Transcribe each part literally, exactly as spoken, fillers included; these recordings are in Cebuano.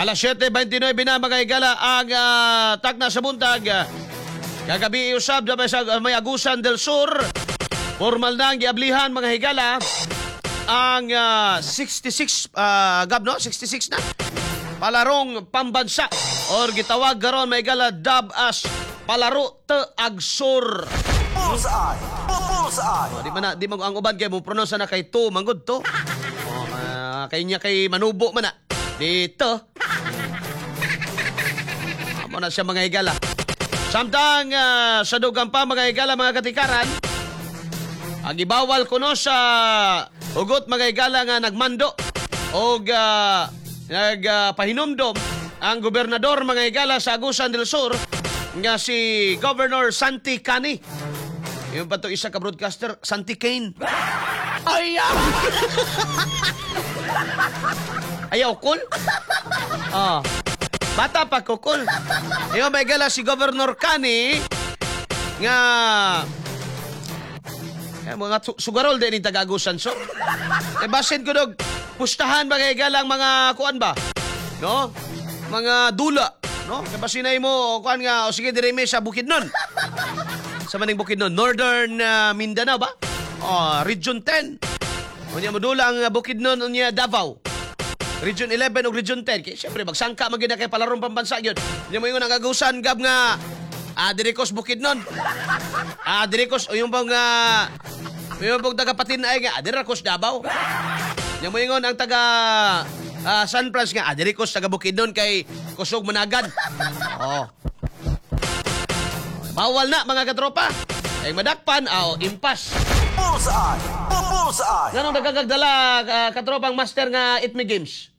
Alas siyete bentinwebe na, mga higala, ang uh, takna sa buntag. Kagabi usab sa may Agusan del Sur. Formal na ang giablihan, mga higala, ang ah, sixty-six uh, gab no, sixty-six na palarong pambansa or gitawag karon, may higala, dub as Palaro Te Agsur. Bullseye! Bullseye! Oh, di man na, di man ang uban kay mo pronounce na kay to manggod to. Oh, uh, kay niya kay manubo man na. Dito. Amo na siya, mga higala. Samtang ah, sa dugang pa, mga higala, mga katikaran, ang ibawal kuno sa hugot, mga higala, nga nagmando og uh, nagpahinumdom ang gobernador, mga higala, sa Agusan del Sur nga si Governor Santi Cani. Yung pa to isa ka broadcaster, Santi Kane. Ayaw! Ayaw, cool? Ah. Bata pa ko, cool. Yung may gala si Governor Cani nga eh, mga su- sugarol din yung taga-Agusan. So, eh, basin ko dog, pustahan ba kay galang mga kuan ba? No? Mga dula. No? Kay basin ay mo, kuan nga, o sige, direme sa Bukidnon. Sa maning Bukidnon, Northern uh, Mindanao ba? Oh, Region ten. Unya modula ang Bukidnon, unya Davao. Region eleven ug Region ten. Kay syempre magsangka man gyud na kay palarong pambansa gyud. Unya mo ingon ang Agusan gab nga ah diri kos Bukidnon. Ah diri kos o yung bang uh, yung bang taga Patin-ay nga ah, diri kos Davao. Unya mo ingon ang taga ah, San Frans nga ah, diri kos taga Bukidnon kay kusog managad. Oh. Bawal na, mga katropa. Ay madakpan, aw impas. Bullseye! Bullseye! Nganong nagkagdala uh, katropang master nga It Me Games?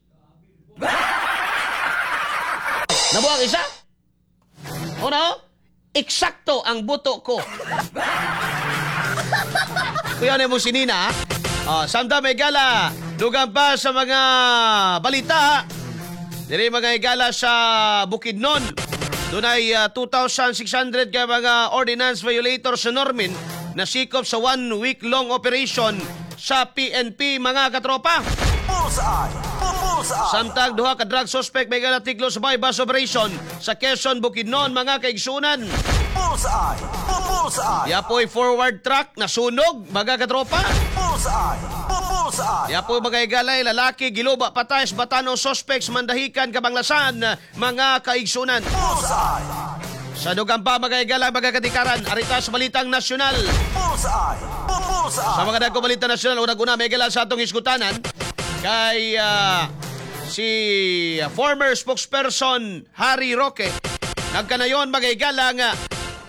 Nabuang isa? Una, eksakto ang buto ko. Kuya na mo si Nina. Oh, samtang may gala, dugang pa sa mga balita. Diri, mga higala, sa Bukidnon. Dunay uh, two thousand six hundred ka mga ordinance violators sa Normin na sikop sa one week long operation sa P N P, mga katropa. Bullseye! Bullseye! Samtang duha ka drug suspect may tiglo sa buy-bust operation sa Quezon, Bukidnon, mga kaigsunan. Bullseye! Bullseye! Yapoy forward truck nasunog, mga katropa. Bullseye! Bullseye! Yapoy, mga higalay, lalaki giluba patay sa Batan-o suspects Mandahican, Kabanglasan, mga kaigsunan. Bullseye! Sa dugang pa, mga higala, mga katikaran, arita sa balitang nasyonal. Bullseye! Bullseye! Sa mga dagko balita nasyonal, unang-una may higala sa atong iskutanan kay ah, si former spokesperson Harry Roque. Nagkanayon, mga higala, nga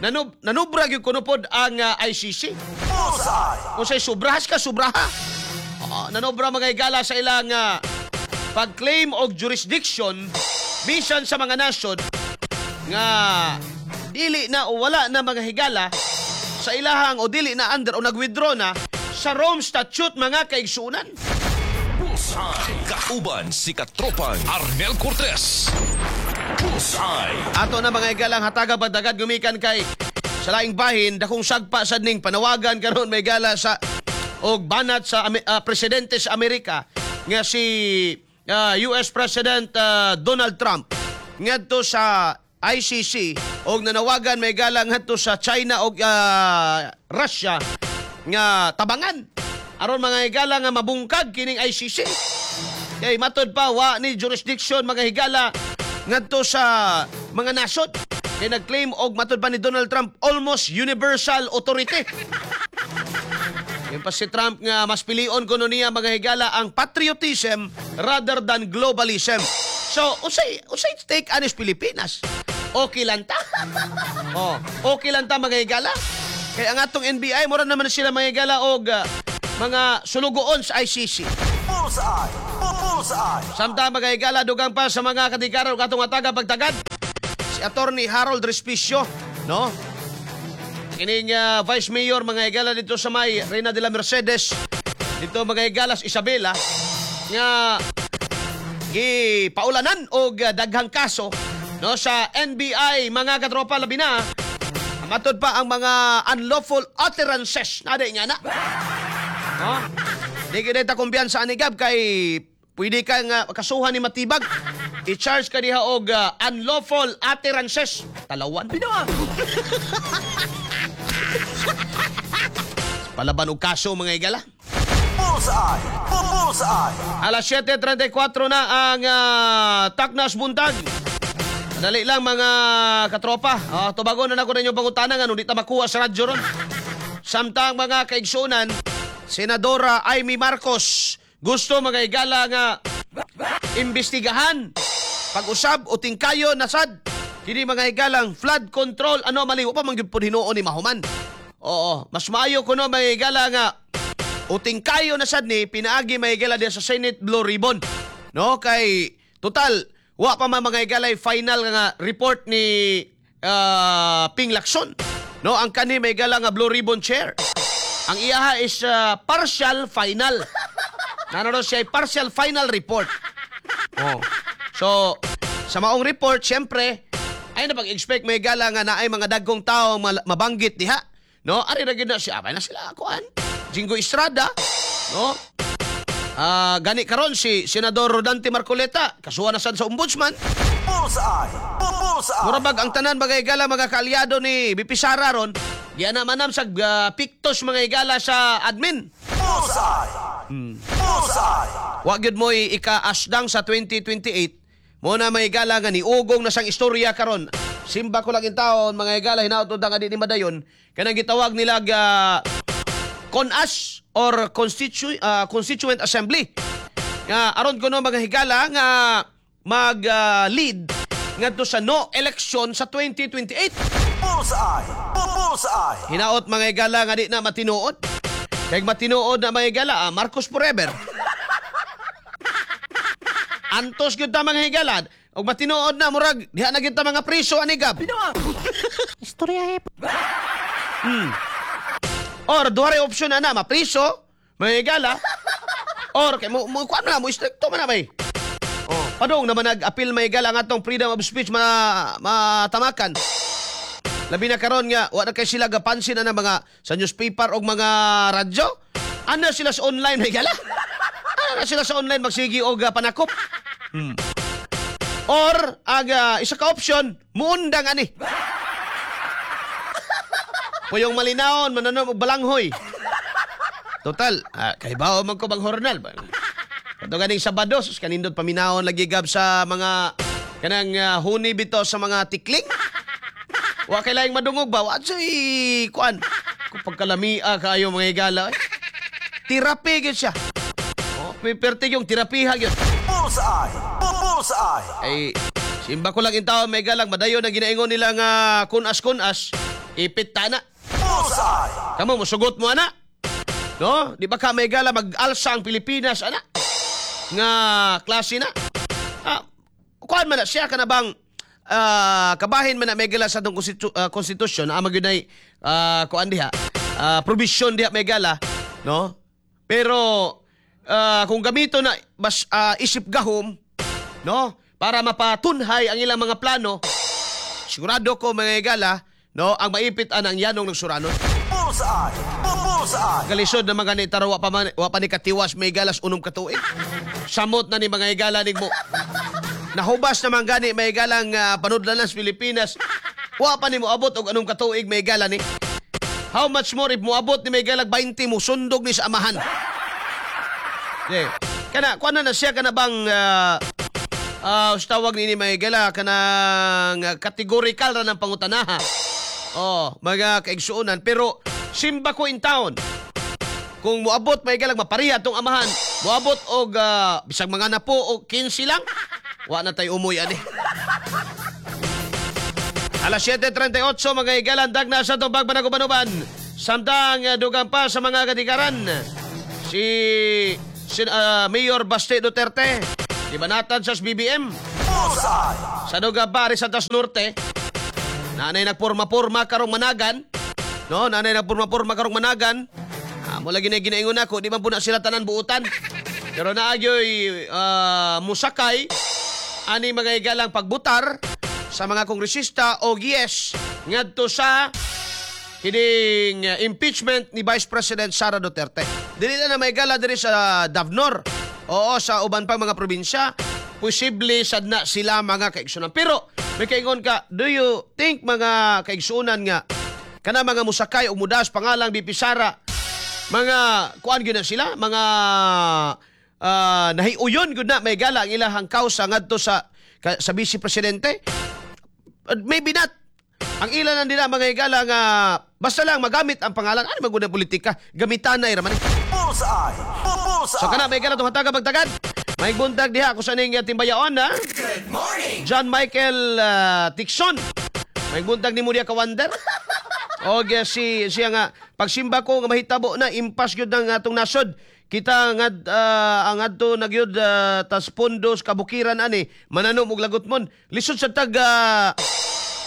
nanub, nanubra gyud kuno pod ang ah, I C C. Bullseye! Kung sa'y sobrahas ka, sobraha. Oo, nanobra, mga higala, sa ilang ah, pag-claim og jurisdiction bisan sa mga nasyon nga dili na o wala na, mga higala, sa ilahang o dili na under o nag-withdraw na sa Rome Statute, mga kaigsunan. Bullseye. Kauban si Katropang Arnel Cortez. Bullseye. Ato na, mga higalang, hataga pagdagad gumikan kay sa laing bahin dakong sagpa sad ning panawagan karon may gala sa og banat sa Ame- ah, presidente sa Amerika nga si ah, U S President ah, Donald Trump ngadto sa I C C og nanawagan may gala ngadto sa China og ah, Russia nga tabangan aron, mga higala, nga mabungkag kining I C C. Kay matod pa wa ni jurisdiction, mga higala, ngadto sa mga nasod. Kay nag-claim og matod pa ni Donald Trump almost universal authority. Yung pa si Trump nga mas pilion kuno niya, mga higala, ang patriotism rather than globalism. So, unsay unsay take anis Pilipinas? Okay lang ta? Oh, okay lang ta, mga higala? Kaya ang atong N B I mura naman sila, mga higala, og ah, mga sulugoon sa I C C. Bullseye! Bullseye! Samtang, mga higala, dugang pa sa mga katikaro katong ataga pagtagad. Si Attorney Harold Respicio, no? Kining ah, Vice Mayor, mga higala, dito sa may Reina de la Mercedes, dito, mga higala, sa Isabela, nga gipaulanan og ah, daghang kaso, no, sa N B I, mga katropa, labi na matod pa ang mga unlawful utterances na di nga na. No? Di gyud ta kumpiyansa ani gab kay Pwede ka nga kasuhan ni Matibag. I-charge ka diha og ah, unlawful utterances. Talawan. Palaban og kaso, mga higala. Bullseye! Bullseye! Alas siyete trentay kwatro na ang ah, Taknas Buntag. Dali lang, mga katropa. Uh, tubagon na nako ninyo pangutana nga di ta makuha sa radyo ron. Samtang, mga kaigsunan, Senadora Imee Marcos gusto, mga higala, nga imbestigahan, pag-usab o tingkayo na sad kini, mga higalang, flood control anomaly. Wa pa man gyud pud hinuon ni mahuman. Oo, mas maayo kuno, mga higala, nga uting kayo na sad ni pinaagi, mga higala, diya sa Senate Blue Ribbon. No, kay total wa pa man, mga higala, final nga report ni ah, Ping Lacson. No, ang kani, mga higala, nga Blue Ribbon chair. Ang iyaha is ah, partial final. Nano siya ay partial final report. Oh. So, sa maong report, syempre, ay na pag-expect, mga higala, nga naay mga dagkong tao mal- mabanggit diha. No, ari ra gyud na siya, ay na sila kuan. Jinggoy Estrada, no? Ah, gani karon si Senador Rodante Marcoleta, kasuhan na sad sa ombudsman. Bullseye! Bullseye! Mura bag ang tanan, mga higala, mga kaalyado ni V P Sara ron, giana manam sa ah, pictos, mga higala, sa admin. Bullseye! Bullseye! Wa gyud mo'y ika-asdang sa twenty twenty-eight mo na, mga higala, nga niugong na sang istorya karon. Simba ko lang in taon, mga higala, hinaot nga di ni madayon kanang gitawag nila ga CONAS or Constitu- ah, Constituent Assembly nga aron kuno, mga higala, nga mag ah, lead ngadto sa no election sa twenty twenty-eight. Bullseye! Bullseye! Hinaot, mga higala, nga di na matinuod. Kay matinuod na, mga higala, ah, Marcos forever. Antos gyud ta, mga higala. Og matinuod na, murag diha na gyud ta mga priso ani gab. Istorya eh. Or duha ray option na na, mapriso, mga higala. Or kay mo mo kuan na mo istrikto man na bay. Oh, padung naman nag-appeal, mga higala, ang atong freedom of speech ma matamakan. Labi na karon nga wa na kay sila gapansin na ng mga sa newspaper og mga radyo. Ana sila sa online, mga higala. Ana na sila sa online magsigi og uh, panakop. Hmm. Or ang ah, isa ka option, muundang ani. Puyong malinawon, mananom og balanghoy. Total, ah, kay bao man ko bang hornal ba? Kato ganing Sabado, sus, kanindot paminawon lagi gab sa mga kanang uh, huni bito sa mga tikling. Wa kay laing madungog ba? Wa say kuan. Kung pagkalamia kaayo, mga higala. Eh. Terapi gyud siya. Oh, piperti yung terapiha gyud. Bullseye! Bullseye! Ay, simba ko lang in taon, may galang madayon na ginaingon nila nga kunas-kunas, ipit ta na. Bullseye! Kamo, musugot mo ana. No? Di ba ka may gala mag-alsa ang Pilipinas ana? Nga klase na. Ah, kuan man na siya ka na bang ah, kabahin man na may gala sa atong konstitu- ah, konstitusyon ang magyunay uh, kuan diha, ah, provision diha, may gala, no? Pero ah, kung gamito na bas ah, isip gahom, no, para mapatunhay ang ilang mga plano, sigurado ko, mga higala, no, ang maipit anang yanong ng suranon. Bullseye! Bullseye! Kalisod na mga ni taro, wa pa, man, wa pa ni katiwas may galas unom katuig. Samot na ni mga higala mo. Nahubas naman gani may galang uh, panudlanan sa Pilipinas. Wa pa ni moabot og anong katuig, may gala ni. How much more if moabot ni may galag twenty, mo sundog ni sa amahan. Yeah. Kana kuan na na siya kana bang uh, uh, tawag nini, may gala, kanang uh, categorical ra ng pangutanaha. Oh, mga kaigsuonan, pero simba ko in town. Kung moabot, may galag, mapariha tong amahan, moabot og ah, bisag mga napo og kinse lang, wa na tay umoy ani. Alas siyete trentay otso, mga higalan, dagna sa tubag panagubanuban. Samtang uh, dugang pa sa mga katikaran. Si, si ah, Mayor Baste Duterte, gibanatan sa B B M. Bullseye! Sa dugang pa sa Tas Norte, nanay nagporma-porma karong managan. No, nanay nagporma-porma karong managan. Ah, mo lagi na ginaingon ako, di man po na sila tanan buutan. Pero naagyoy uh, musakay ani, mga higalang, pagbutar sa mga kongresista o yes ngadto sa kining uh, impeachment ni Vice President Sara Duterte. Dili na na may gala diri sa Davnor. Oo, sa uban pang mga probinsya, posible sad na sila, mga kaigsunan. Pero may kaingon ka, do you think, mga kaigsunan, nga kana mga musakay o mudas pangalang V P Sara, mga kuan gyud na sila, mga uh, nahiuyon gyud na may gala ang ilahang kausa ngadto sa ka, sa vice presidente? Uh, maybe not. Ang ilan lang nila, mga higala, nga basta lang magamit ang pangalan, ano maguna politika, gamitan na raman. Bullseye! Bullseye! So kana may higala itong hataga magtagad. May buntag diha kung saan ning timbayaon ha. Good morning! John Michael uh, Tixon. May buntag ni mo diha, ka-wonder. O si siya nga pagsimba ko nga mahitabo na impas gyud ng atong nasod. Kita nga uh, ang adto na gyud uh, tas pundos kabukiran ani mananom og lagot mon. Lisod sa tag uh,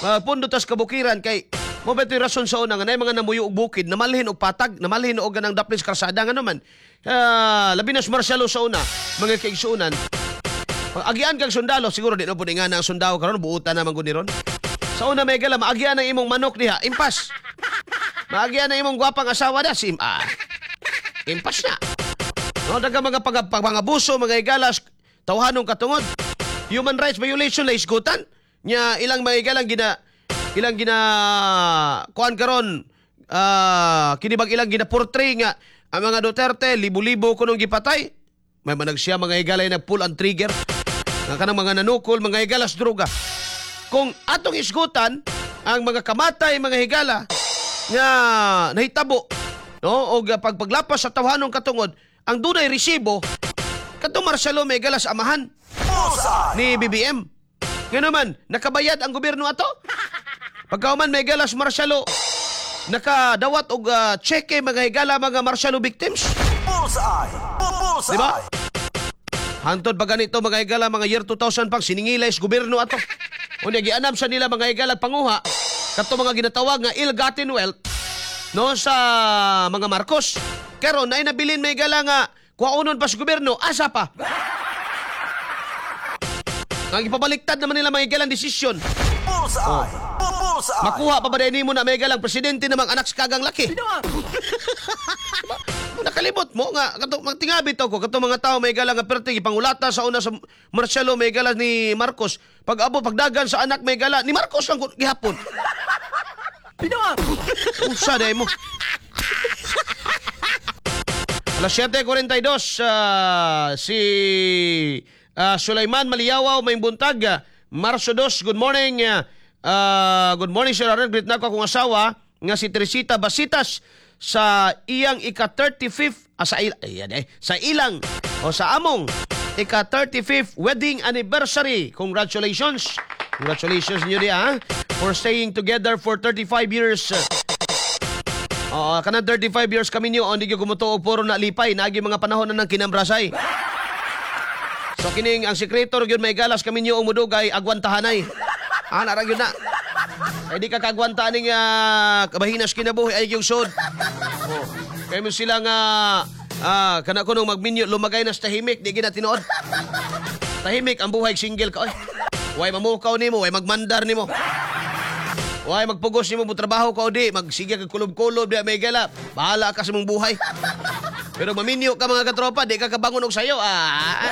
uh, pundo tas kabukiran kay mo ba ito'y rason sa una nga naay mga namuyo og bukid namalhin og patag, namalhin og ganang daplis karsada nga naman. Uh, labi na sa martial law sa una, mga kaigsuonan. Pag agian kag sundalo, siguro di na po nga na ang sundalo karon, buutan na man gud ni ron. Sa una may gala, maagian ang imong manok diha, impas. Maagian ang imong gwapang asawa da, sim ah. Impas na. No, daga mga pag, pag, pangabuso, mga igalas, tawhanong katungod. Human rights violation la isgutan. Nya ilang mga igalang gina ilang gina kuan karon, ah, kini bag ilang gina portray nga ang mga Duterte libo-libo kunong gipatay. May manag siya, mga higalay, nag-pull ang trigger. Nga kanang mga nanukol, mga higalas, droga. Kung atong isgutan ang mga kamatay, mga higala, nga nahitabo, no, og pagpaglapas sa tawhanong katungod, ang dunay resibo kadtong martial law, may higala, sa amahan Bullseye! ni B B M. Nga naman, nakabayad ang gobyerno ato. Pagkauman may galas martial law, nakadawat og uh, cheque, mga higala, mga martial law victims. Bullseye! Bullseye! Di ba? Hantod pa ganito, mga higala, mga year two thousand pang siningilay sa gobyerno ato. Unya gianam sa nila, mga higala, panguha kato mga ginatawag nga ill-gotten wealth, no, sa mga Marcos. Karon naay nabilin, may higala, nga kuhaonon pa sa gobyerno, asa pa? Ang ipabaliktad naman nila, mga higala, ang desisyon. Bullseye! Bullseye! Makuha pa ba din mo na may galang presidente namang anak sa kagang laki? Diba? Nakalibot mo nga kato magtingabi to ko kato mga tao may galang nga perti gipangulata sa una sa martial law may gala ni Marcos. Pag abo pagdagan sa anak may gala ni Marcos lang gihapon. Usa day mo. Alas siyete kuwarenta y dos, ah, si ah, Sulaiman Maliyawaw, may buntag. ah, Marso dos, good morning. ah, good morning, Sir Arnel. Greet na ko akong asawa nga si Teresita Basitas sa iyang ika thirty-fifth, ah, sa, il, ayan, eh, sa ilang o sa among ika thirty-fifth wedding anniversary. Congratulations. Congratulations niyo di ha for staying together for thirty-five years. Oo, kanang thirty-five years kami niyo, hindi gyud kumutuo puro na lipay, naagi mga panahon na ng kinambrasay. So kining ang sekreto gyud may galas kami niyo ang mudugay agwantahanay. Ah, nara gyud na. Ay di ka kagwanta ning uh, kabahinas kinabuhi ay yung sud. Oh. Kay mo sila nga ah, kana ko nung magminyo lumagay na sa tahimik, di gina tinuod. Tahimik ang buhay single ka oy. Way mamukaw nimo, way magmandar nimo. Way magpugos nimo mo trabaho ka o di, magsige ka kulob-kulob di may gala. Bahala ka sa mong buhay. Pero maminyo ka, mga katropa, di ka kabangon og sayo. Ah.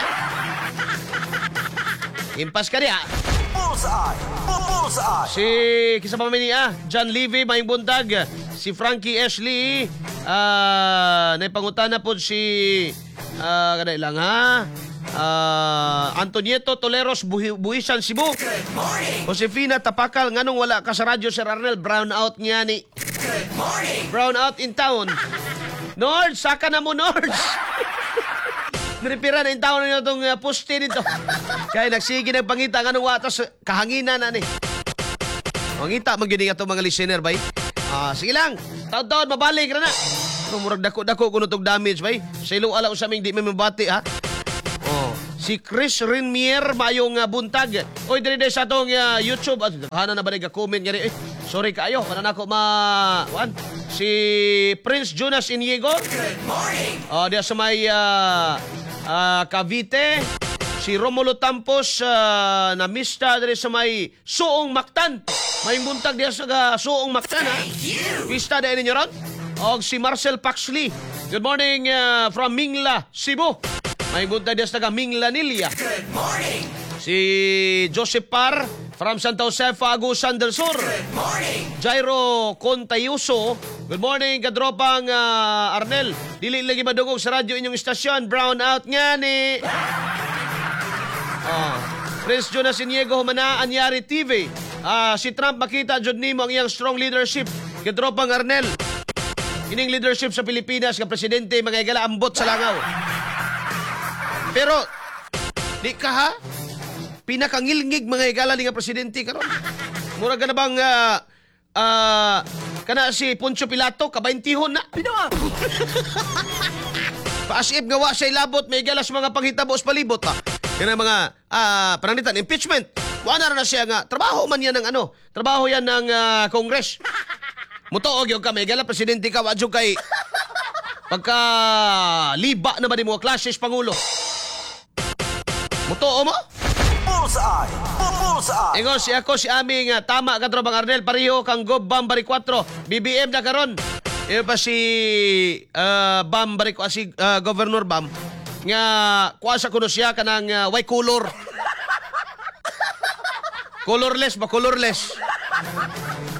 Impas ka diha. Bullseye! Bullseye! Si kisa pa man niya, John Levy, maayong buntag. Si Frankie Ashley, ah, naipangutana po si ah, kanay lang ha. Ah, Antonieto Toleros, Buhi, Buhisan, Cebu. Josefina Tapakal, nganong wala ka sa radyo, Sir Arnel? Brown out nga ni. Brown out in town. Nords, saka na mo, Nords. Nirepira na in town na itong uh, poste nito. Kaya nagsige nagpangita nganong watas kahanginan na ni. Mangita man gyud atong mga listener bay. Ah, sige lang. Taon-taon mabalik ra na. Pero murag dako-dako kuno tog damage bay. Sa ilo ala sa aming di may mabati ha. Oh, si Chris Rinmier, mayong uh, buntag. Oy, diri diri sa atong uh, YouTube. At hana na ba nag-comment nga eh, sorry kaayo, kana nako ma wan. Si Prince Jonas Inigo. Good morning. Oh, diya sa may uh, uh, Cavite. Si Romulo Tampos uh, na mista diri sa may Suong Mactan. May buntag diya sa uh, Suong Mactan ha. Pista dahil ninyo ron. Og si Marcel Paxley. Good morning uh, from Mingla, Cebu. May buntag diya sa taga Minglanilla. Good morning. Si Joseph Par from Santa Josefa, Agusan del Sur. Good morning. Jairo Contayuso. Good morning, kadropang ah, Arnel. Dili lagi madungog sa radyo inyong istasyon. Brown out nga ni. Oh. Prince Jonas Iniego Humana, Anyari T V. Ah, si Trump, makita jud nimo ang iyang strong leadership. Kadropang Arnel. Kining leadership sa Pilipinas nga presidente, mga higala, ambot sa langaw. Pero di ka ha? Pinakangilngig, mga higala, ni nga presidente karon. Mura ka na bang ah, ah, kana si Poncio Pilato kabaintihon na. Paasip nga wa siya ilabot, may higala, sa mga panghitabo sa palibot pa. Kana mga ah, pananglitan impeachment. Wa na ra na siya nga trabaho man yan ng ano, trabaho yan ng ah, Congress. Mutuo gyud ka, may higala, presidente ka, wa jud kay pagka liba na ba ni mga clashes pangulo. Mutuo mo? Bullseye. Bullseye. Ingon si ako si aming uh, tama ka, Tropang Arnel, pareho kang Gob Bam Bari four B B M na karon. Iyo pa si uh, Bam Bari, uh, si uh, Governor Bam nga kuha sa kuno siya kanang uh, way color. Colorless ba, colorless?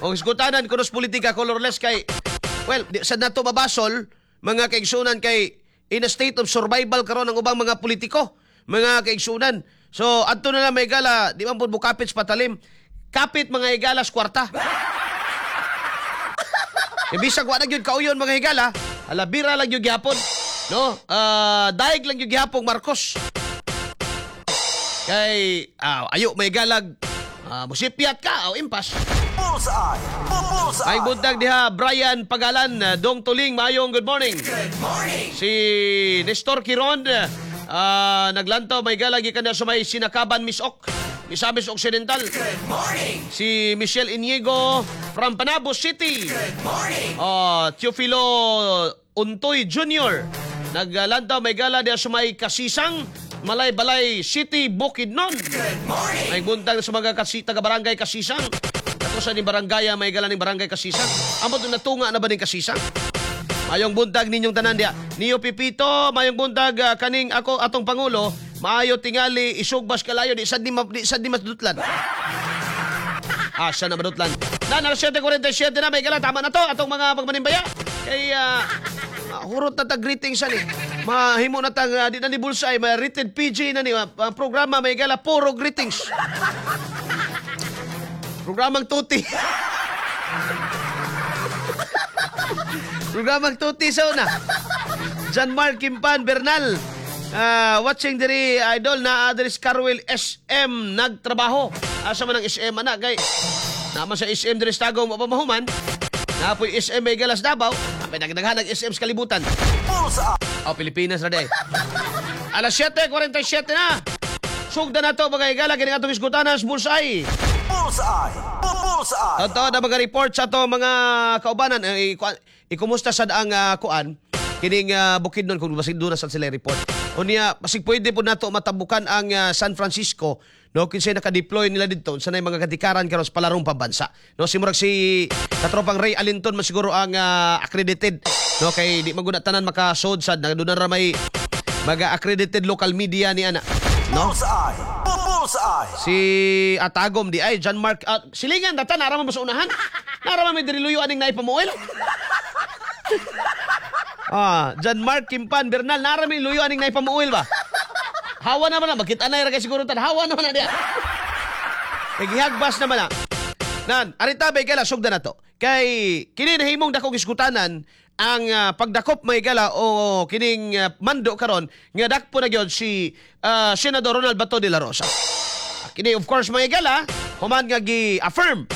O isgutanan kuno sa politika, colorless kay, well, di, sa nato mabasol, mga kaigsunan, kay in a state of survival karon ang ubang mga politiko, mga kaigsunan. So adto na lang, may gala, di man pud mo kapit sa patalim. Kapit, mga higala, sa kwarta. E bisag wa na gyud kauyon, mga higala, ala bira lang gyud gihapon. No? Ah, daig lang gyud gihapon Marcos. Kay ah, ayo may galag ah, musipyat ka o impas. Bullseye. Bullseye. Ay buntag diha Brian Pagalan, ah, Dong Tuling, maayong good morning. Good morning. Si Nestor Quiron, ah, naglantaw, may galag, gikan na sa may Sinakaban, Misok, Misamis Occidental. Good morning. Si Michelle Inigo from Panabo City. Good morning. Oh, Teofilo Untoy Junior naglantaw, may gala, diha sa may Kasisang, Malaybalay City, Bukidnon. Good morning. May buntag sa mga kasi, taga barangay Kasisang. Ato sa ni barangay, may gala ni barangay Kasisang. Amo doon natunga na ba ni Kasisang? Mayong buntag ninyong tanan diya. Niyo Pipito, mayong buntag, ah, kaning ako atong pangulo, maayo tingali isugbas kalayo di sad ni ma- di sad ni masdutlan. Ah, siya na madutlan. Na, alas siyete kuwarenta y siyete na, may gala. Tama na to, atong mga pagmanimbaya. Kay, ah, ah, hurot na tag greetings ani. Mahimo na tag, uh, di na ni Bullseye, may rated P G na ni. ah, ah, programa, may gala, puro greetings. Programang tuti. Programang tuti sa una. John Mark Kimpan Bernal. Ah, watching diri, idol, na diri sa Carwell S M nagtrabaho. Asa man ang S M ana kay naman sa S M diri sa Tagum wa pa mahuman. Napoy S M may galas Davao. May nagdaghan ang S M sa kalibutan. Bullseye. Oh, Pilipinas ra day. Alas siyete kuwarenta y siyete na. Sugda na to, mga higala, kini atong isgutanan sa Bullseye. Bullseye. Bullseye. Ato na mga report sa ato mga kaubanan, eh, ikuan- ikumusta sad ang ah, kuan kining uh, Bukidnon, kung basig doon na sad sila report. Unya basig pwede po nato matabukan ang ah, San Francisco, no, kinsay naka-deploy nila didto sa mga katikaran karon sa palarong pambansa. No, si murag si katropang Ray Alinton man siguro ang ah, accredited, no, kay di man gud na tanan makasod sad na doon na ra may mga accredited local media ni ana. No? Bullseye. Bullseye. Si Atagom di ay John Mark uh, silingan data nara man ba sa unahan? Nara man may diri luyo aning naipamuel. Ah, John Mark Kimpan Bernal, nara may luyo aning naipamuel ba? Hawa naman na makita na ra kay siguro tan hawa naman na diya. Kay gihagbas naman na. Nan, arita bay gala, sugda na to. Kay kini nahimong dakong iskutanan ang ah, pagdakop, may gala, o kining ah, mando karon nga dakpo na gyud si ah, Senador Ronald Bato de la Rosa. Kini, of course, mga higala, human nga gi-affirm,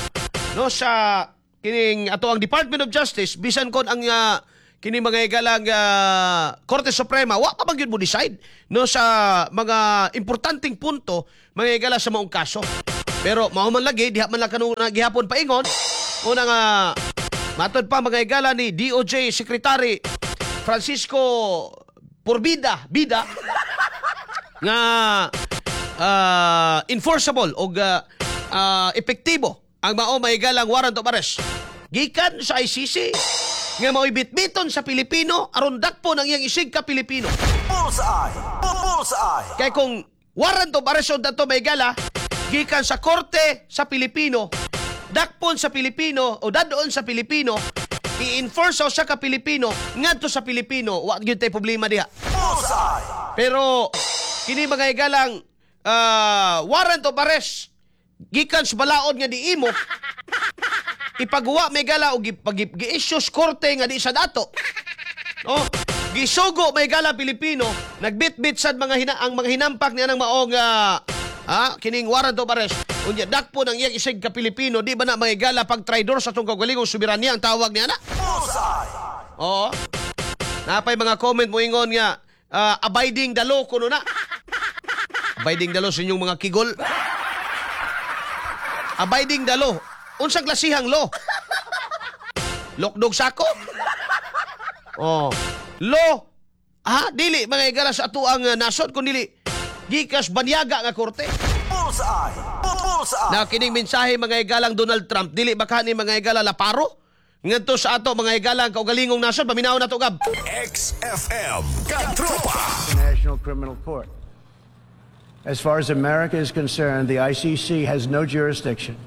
no, sa kining ato ang Department of Justice, bisan kon ang ah, kini, mga higala, nga Korte Suprema wa pa man gyud mo decide, no, sa mga importanteng punto, mga higala, sa maong kaso. Pero mao man lagi diha man lang kanung gihapon paingon una nga matod pa, mga higala, ni D O J Secretary Francisco Porbida Bida nga ah, enforceable o ah, epektibo ang mao mahigalang warrant of arrest gikan sa I C C nga mao'y bitbiton sa Pilipino aron dakpo ng iyang isig ka Pilipino. Bullseye. Bullseye. Bullseye. Kay kung warrant of arrest dato, mga higala, gikan sa korte sa Pilipino, dakpon sa Pilipino o dadon sa Pilipino, i-enforce sa usa ka Pilipino ngadto sa Pilipino, wa gyud tay problema diha. Bullseye. Pero kini, mga higalang, ah, warrant of arrest gikan sa balaod nga di imo ipaguwa, mga higala, o gi, pag- gi-issue sa korte nga di sa dato. No? Gisugo, mga higala, Pilipino, nagbitbit sad mga hina, ang mga hinampak niya ng maong ah, ah, kining warrant of arrest. Unya dakpo ng iyang isig ka Pilipino, di ba na, mga higala, pag traidor sa atong kaugalingong soberanya ang tawag niya na? Bullseye. Oo. Napay mga comment mo ingon nga ah, abiding the law kuno na. Abiding the law sa inyong mga kigol. Abiding the law. Unsang klasihang law? Lokdog sako? Oh. Law. Ah, dili, mga higala, sa atuang uh, nasod kun dili gikas banyaga nga korte. Bullseye. Bullseye. Na kining mensahe, mga higalang Donald Trump, dili ba kani, mga higala, laparo? Ngadto sa ato, mga higalang, kaugalingong nasod, paminaw na to, Gab. X F M Katropa. International Criminal Court. As far as America is concerned, the I C C has no jurisdiction,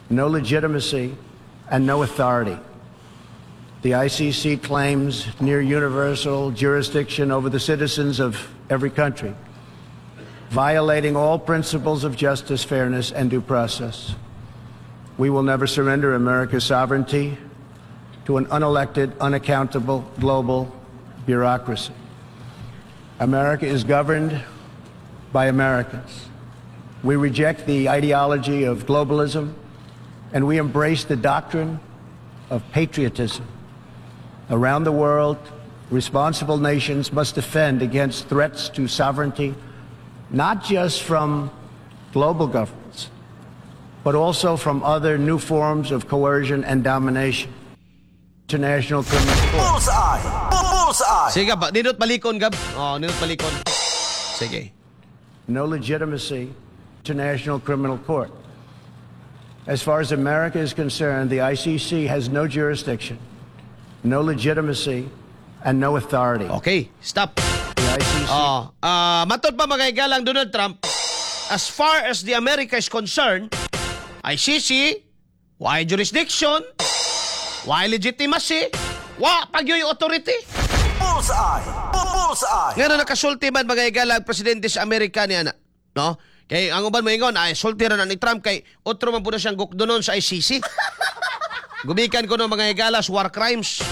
no legitimacy, and no authority. The I C C claims near universal jurisdiction over the citizens of every country, violating all principles of justice, fairness, and due process. We will never surrender America's sovereignty to an unelected, unaccountable global bureaucracy. America is governed by Americans. We reject the ideology of globalism and we embrace the doctrine of patriotism. Around the world, responsible nations must defend against threats to sovereignty, not just from global governments, but also from other new forms of coercion and domination. International Criminal Court. Bullseye. Bullseye. Sige ba, nindot balikon, Gab. Oh, nindot balikon. Sige. No legitimacy, International Criminal Court. As far as America is concerned, the I C C has no jurisdiction, no legitimacy, and no authority. Okay, stop. The I C C Oh, ah, matod pa, mga higalang Donald Trump, as far as the America is concerned, I C C, why jurisdiction, why legitimacy, wa pagyoy authority. Bullseye. Bullseye. Nga na nakasulti man, mga higala, ang presidente sa Amerika niya na, no? Kay ang uban moingon ay sulti ra na ni Trump kay otro man po na siyang gukdonon sa I C C. Gumikan ko no, mga higala, sa war crimes.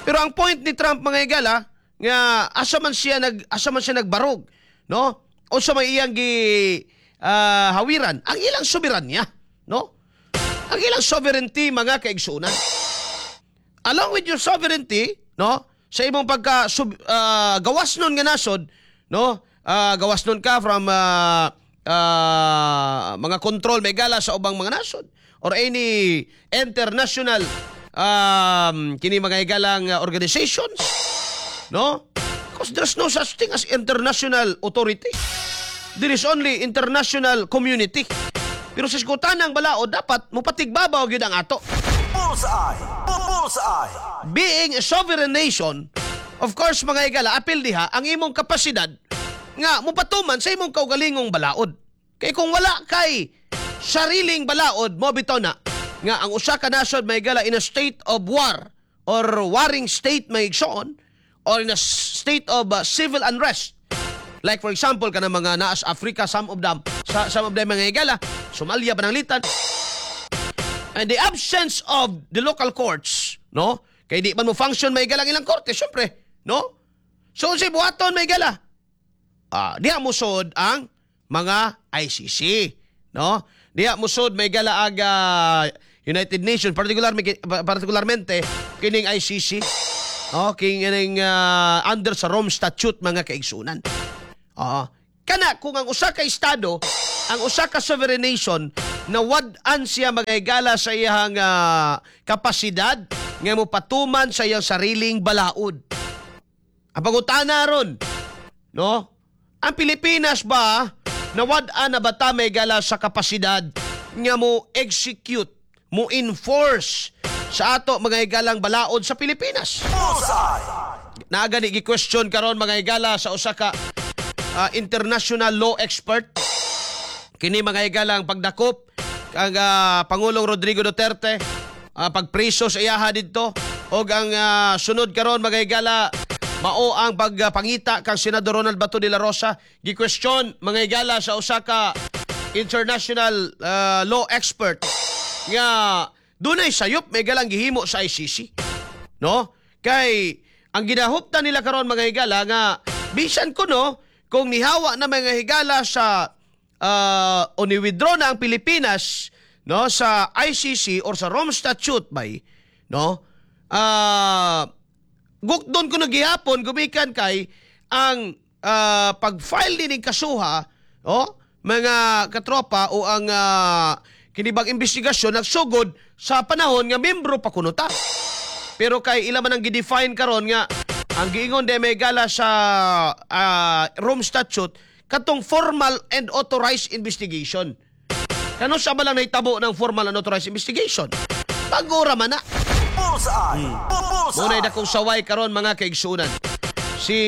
Pero ang point ni Trump, mga higala, nga asa man siya nag asa man siya nagbarog, no? Unsa may iyang gi ah, hawiran ang ilang soberanya, no? Ang ilang sovereignty, mga kaigsunan. Along with your sovereignty, no? Sa imong pagka sub, ah, gawas nun nga nasod, no? Ah, gawas nun ka from ah, ah, mga control, mga higala, sa ubang mga nasod or any international um, kini, mga higalang, uh, organizations, no? Because there's no such thing as international authority. There is only international community. Pero sa isgutanang balaod, dapat mupatigbabaw gyud ang ato. Bullseye. Bullseye. Being a sovereign nation, of course, mga higala, apil diha ang imong kapasidad nga mupatuman sa imong kaugalingong balaod. Kay kung wala kay sariling balaod, mo bitaw na nga ang usa ka nasod, mga higala, in a state of war or warring state, may igsoon, or in a state of uh, civil unrest. Like for example, kanang mga naas Africa, some of them, sa, some of them, mga higala, Somalia, pananglitan. And the absence of the local courts, no? Kay di man mo function, mga higala, ang ilang korte, syempre, no? So unsay buhaton, mga higala? Ah, diha musod ang mga I C C, no? Diha musod, mga higala, ag ah, United Nations, particular particularmente kining I C C. No, kining ah, under sa Rome Statute, mga kaigsunan. Oo. Kana kung ang usa ka estado, ang usa ka sovereign nation nawad-an siya, mga higala, sa iyang ah, kapasidad nga mopatuman sa iyang sariling balaod. Ang pangutana ron, no? Ang Pilipinas ba, nawad-an na ba ta, mga higala, sa kapasidad nga mo execute, mo enforce sa ato, mga higalang, balaod sa Pilipinas? Bullseye. Naa gani gi-question karon, mga higala, sa usa ka ah, international law expert. Kini, mga higala, ang pagdakop kang ah, Pangulong Rodrigo Duterte, ah, pagpriso sa iyaha didto og ang ah, sunod karon, mga higala, mao ang pagpangita kang Senador Ronald Bato de la Rosa. Gi-question, mga higala, sa usa ka international ah, law expert nga dunay sayop may galang gihimo sa I C C, no? Kay ang ginahuptan nila karon, mga higala, nga bisan kuno kung nihawa na, mga higala, sa uh, o ni-withdraw na ang Pilipinas, no, sa I C C or sa Rome Statute bay, no, ah, gukdon ko gihapon gumikan kay ang ah, pag-file din ng kasuha, oh, mga katropa, o ang uh, kinibang investigasyon nagsugod sa panahon nga membro pa kuno ta. Pero kay ila man ang gi-define karon nga ang giingon de may gala sa ah, Rome Statute katong formal and authorized investigation. Kano sa ba lang nahitabo ng formal and authorized investigation? Bago ra man na. Bullseye! Bullseye! Muna'y dakong saway karon, mga kaigsunan. Si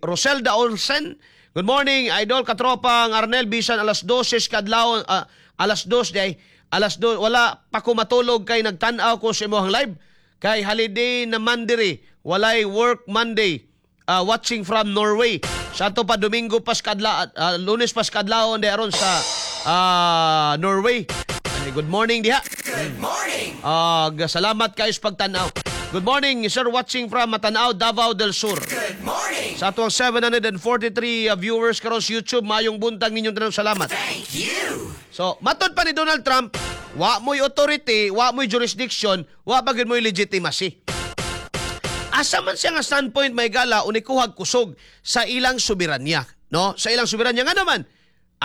Roselda Olsen, good morning, idol katropang Arnel, bisan alas dose kadlaw, ah, alas dos day, alas dos, wala pa ko matulog kay nagtan-aw ko sa imong live. Kay holiday naman diri, walay work Monday. Ah, watching from Norway. Sa ato pa Domingo pas kadla, ah, Lunes pas kadlawon di aron sa ah, Norway. Ay, good morning diha. Ah, salamat kayo sa pagtanaw. Good morning, sir, watching from Matanao, Davao del Sur. Good morning. Sa atong seven hundred forty-three uh, viewers karon sa YouTube, mayong buntag ninyong tanan, salamat. Thank you. So, matod pa ni Donald Trump, wa mo'y authority, wa mo'y jurisdiction, wa pa gyud mo'y legitimacy. Asa man siya nga standpoint may gala o nikuhag kusog sa ilang soberanya, no? Sa ilang soberanya nga naman,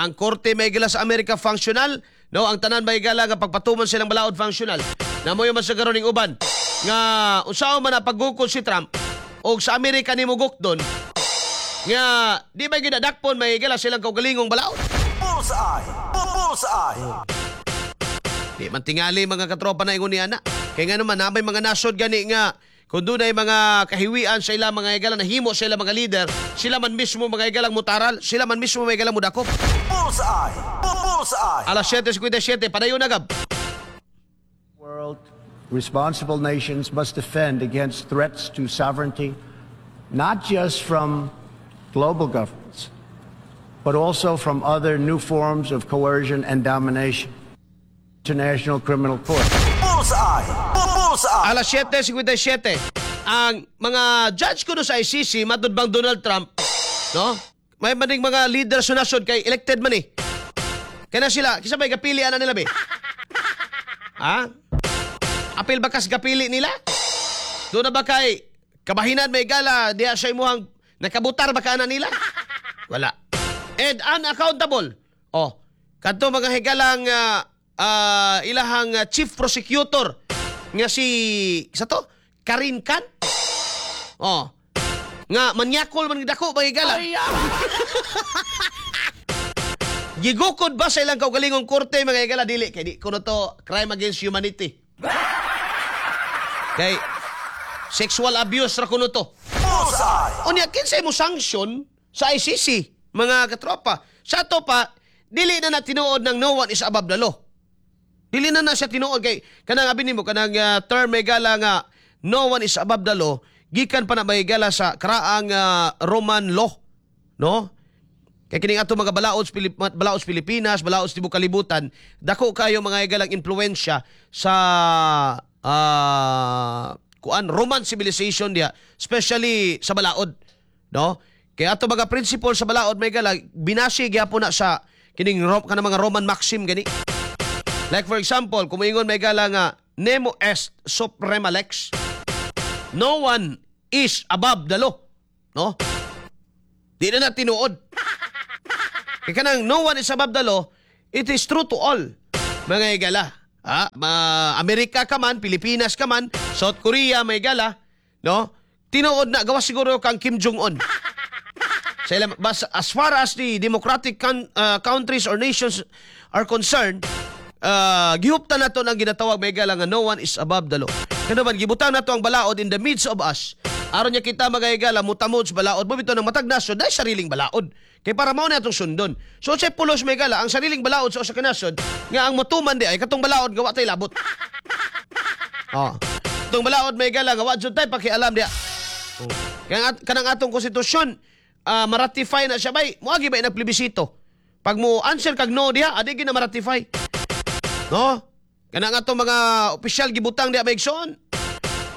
ang korte may gala sa Amerika functional, no? Ang tanan may gala nga pagpatuman silang balaod functional. Namoy man sa karon ning uban nga unsaon man na paggukod si Trump og sa Amerika nimo gukdon nga di ba ginadakpon may gala silang kaugalingong balaod. Bullseye! Bullseye! Di man tingali, mga katropa, na ingon ni ana. Kaya nga naman, na may mga nasod gani nga kung doon ay mga kahiwian sa ilang mga higala nahimo sa ilang mga leader, sila man mismo, mga higalang, mutaral, sila man mismo mga higalang mudakop. Bullseye! Bullseye! Alas siyete singkwenta y siyete, padayon na gab. World responsible nations must defend against threats to sovereignty, not just from global governments, but also from other new forms of coercion and domination. International Criminal Court. Bullseye! Bullseye! Alas siyete singkwenta y siyete, ang mga judge ko no sa I C C, matod bang Donald Trump, no? May maning mga leader sa nasod kay elected man eh. Kaya na sila, kisa may gapili ana nila be? Ha? Apil ba kas gapili nila? Doon na ba kay kabahinan may gala diya sa imuhang nakabutar ba ka na nila? Wala. And unaccountable. Oh, kadto, mga higalang, uh, ah, ilahang ah, chief prosecutor nga si sa to Karim Khan. Oh. Nga manyakol man dako mga higala. Gigukod ba sa ilang kaugalingong korte, mga higala? Dili kay di kuno to crime against humanity. Kay sexual abuse ra kuno to. Bullseye! Unya kinsay mo sanction sa I C C, mga katropa? Sa ato pa dili na na tinuod ng no one is above the law. Dili na na siya tinuod kay kanang abi nimo kanang uh, term may gala nga no one is above the law gikan pa na may gala sa karaang ah, Roman law, no? Kay kining ato mga balaod sa Pilip, balaod sa Pilipinas, balaod sa tibok kalibutan, dako kayo, mga higalang, impluwensya sa ah, kuan Roman civilization diha, especially sa balaod, no? Kaya ato mga principle sa balaod may gala binasi gyapon na sa kining Ro, kanang mga Roman maxim gani. Like for example, kung moingon may gala nga nemo est suprema lex. No one is above the law. No? Di na na tinuod. Kaya kanang no one is above the law, it is true to all. Mga higala. Ah, ma Amerika ka man, Pilipinas ka man, South Korea may gala, no? Tinuod na gawas siguro kang Kim Jong Un. Sa ilang, bas, as far as the democratic con- uh, countries or nations are concerned, uh, gihuptan nato ng ginatawag may gala nga no one is above the law. Kano man gibutang nato ang balaod in the midst of us. Aron niya kita, mga higala, mutamod sa balaod mo bito ng matag nasod dahil sariling balaod. Kay para mao na atong sundon. So sa pulos, may gala ang sariling balaod sa usa ka nasod nga ang motuman di ay katong balaod nga wa tay labot. Oh. Katong balaod, may gala, nga wa jud tay pakialam diya. Oh. Kaya kanang atong konstitusyon, uh, ma-ratify na siya bay, moagi ba nagplebisito. Pag mo answer kag no diha, adi gyud na ma-ratify. No? Kanang atong mga opisyal gibutang diha, may igsoon.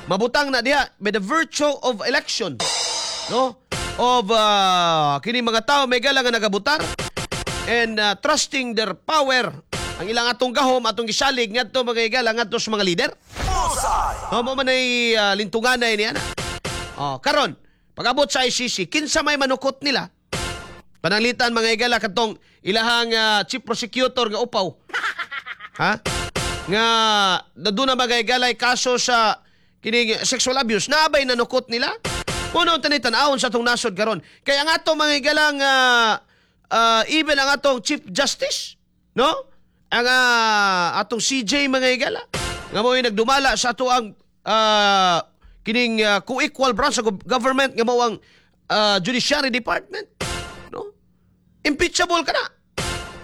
Mabutang na diha by the virtue of election. No? Of uh, kini mga tao, may gala, nga nagabutar and uh, trusting their power, ang ilang atong gahom atong gisalig ngadto, mga higala, ngadto sa mga leader. Bullseye! No, mo man ay uh, lintunganay niya na. Oh, karon, pag-abot sa I C C, kinsa may manukot nila? Pananglitan, mga higala, katong ilahang uh, chief prosecutor nga upaw. Ha? Nga doon na, mga higala, kaso sa kining sexual abuse, naabay nanukot nila? Puno tanay tan-awon sa atong nasod karon. Kaya ang atong mga higalang uh, uh, even ang atong chief justice, no? Ang uh, atong C J, mga higala, nga mo nagdumala sa ato ang uh, kining uh, co-equal branch sa government nga mao ang uh, judiciary department, no? Impeachable ka na.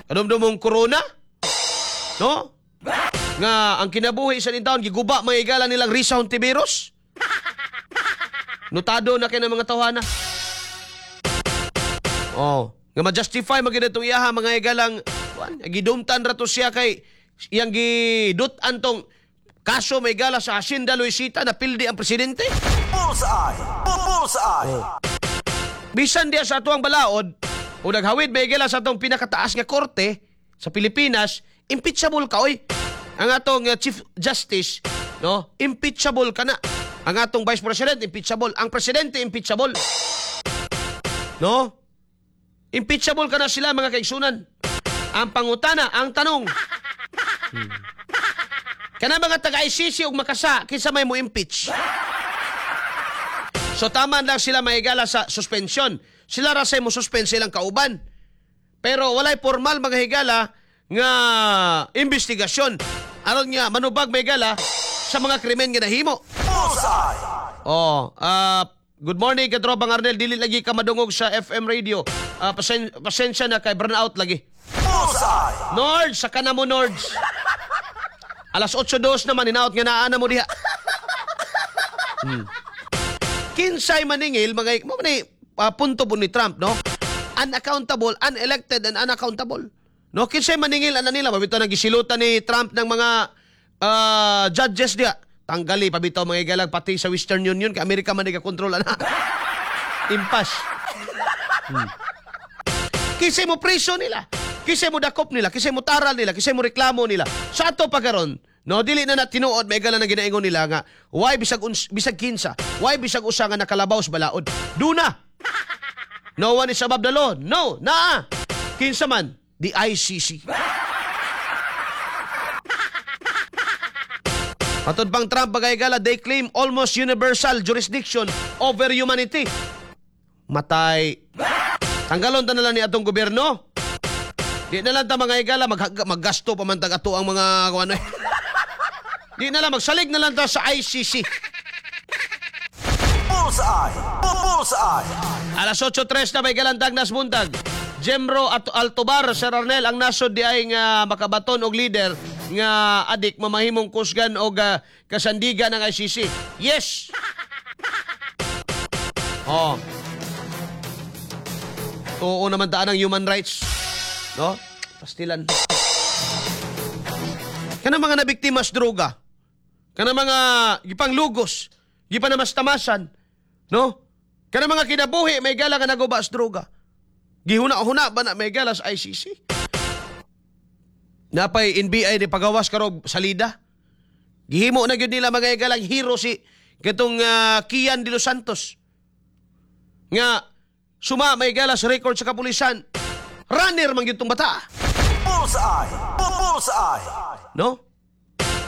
Kadumdumong corona, no? Nga ang kinabuhi sa taon giguba, mga higala, nilang Risa Hontiveros. Notado na kay ng mga tawhana. Oh, nga ma-justify magyud itong iyaha, mga higalang kuan, gidumtan ra to siya kay iyang gidut-an tong kaso, may gala, sa Hacienda Luisita na pildi ang presidente. Bullseye! Bullseye! Bisan diya sa atuang balaod o naghawid, may gala, sa atong pinakataas nga korte sa Pilipinas, impeachable ka oy. Ang atong uh, Chief Justice, no, impeachable ka na. Ang atong Vice President, impeachable. Ang presidente, impeachable. No? Impeachable ka na sila, mga kaigsunan. Ang pangutana, ang tanong. Hmm. Kana mga taga-I C C ug makasa, kinsa may mo impeach? So tama lang sila, mahigala, sa suspension. Sila ra say mo suspend silang kauban. Pero walay formal, mga higala, nga investigasyon aron nga manubag, may gala, sa mga krimen nga nahimo. Bullseye! Oh, ah, good morning, katropang Arnel, dili lagi ka madungog sa F M radio. Ah, pasen- pasensya na kay burn out lagi. Bullseye! Nords, saka na mo, Nords. Alas otso dos naman, hinaot nga naa na mo diha. Hmm. Kinsay maningil, mga, mo man ni, ah, punto po ni Trump, no? Unaccountable, unelected, and unaccountable. No, kinsay maningil ana nila, pabitaw nang gisilutan ni Trump ng mga ah, judges diha. Tanggali pabitaw, mga igalag, pati sa Western Union kay Amerika man kontrol ana. Impas. Hmm. Kinsay mo preso nila? Kinsay mo dakop nila? Kinsay mo taral nila? Kinsay mo reklamo nila? Sa ato pa karon, no, dili na na tinuod, may gala na ginaingon nila nga why bisag uns, bisag kinsa, why bisag usa nga nakalabaw sa balaod. Duna. No one is above the law. No, naa. Kinsa man? The I C C. Matod pang Trump, bagay gala, they claim almost universal jurisdiction over humanity. Matay. Tanggalon ta na lang ni atong gobyerno. Di na lang ta, mga higala, mag, maggasto pa man tag ato ang mga kung ano eh. Di na lang, magsalig na lang ta sa I C C. Bullseye! Bullseye! Alas otso tres na may galantag nas buntag. Jemro at Altobar, Sir Arnel, ang nasod di ay nga makabaton og leader nga adik mamahimong kusgan og ah, kasandigan ng I C C. Yes. Oh. Oo naman daan ang human rights. No? Pastilan. Kana mga nabiktima sa droga. Kana mga gipanglugos, gipanamastamasan, no? Kana mga kinabuhi, may gala, nga naguba sa droga. Gihuna-huna ba na, may gala, sa I C C? Napay N B I ni pagawas karog salida. Gihimo na gyud nila, mga higalang, hero si katong uh, Kian de los Santos. Nga suma, may gala, sa record sa kapulisan. Runner man gyud tong bata. Bullseye! Bullseye! No?